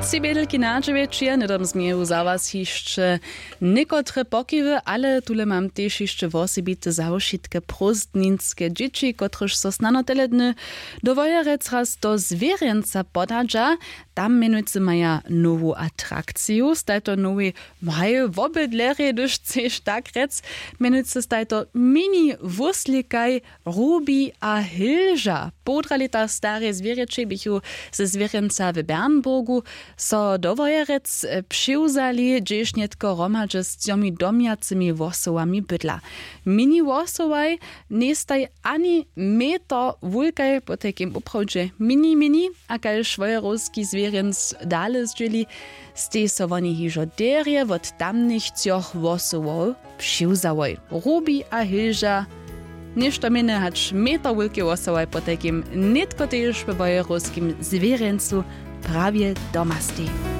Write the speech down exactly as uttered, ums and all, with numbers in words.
Tři bědelki na dźewjećije hnydom změju za was hišće někotre pokiwy, ale tule mam tež hišće wosebite za wšitke prózdninske dźěći, kotrež so snano tele dny do wojerec raz do zwěrjenca podadźa. Tam mjenujcy maja nowu atrakciju, stajto nowej maj wobydlerjej, hdyž chceš tak rjec. Mjenujcy stajto mini wuslikaj, rubi a hilža. Połdra lěta stare zwěrjećej běchu ze zwěrjenca w Bernburgu so do wojerec přiwzali, hdźež nětko hromadźe z třomi domjacymi wosowami bydla. Mini wosowaj njejstaj ani meter wulkaj, potajkim woprawdźe mini mini. A kaž wojerowski zwěrjenc dale zdźěli, stej so woni hižo derje wot tamnych třoch wosowow přiwzałoj. Rubi a hilža, něšto mjenje hač meter wulke wosołaj potajkim nětko tež we wojerowskim zwěrjencu prawje domastej.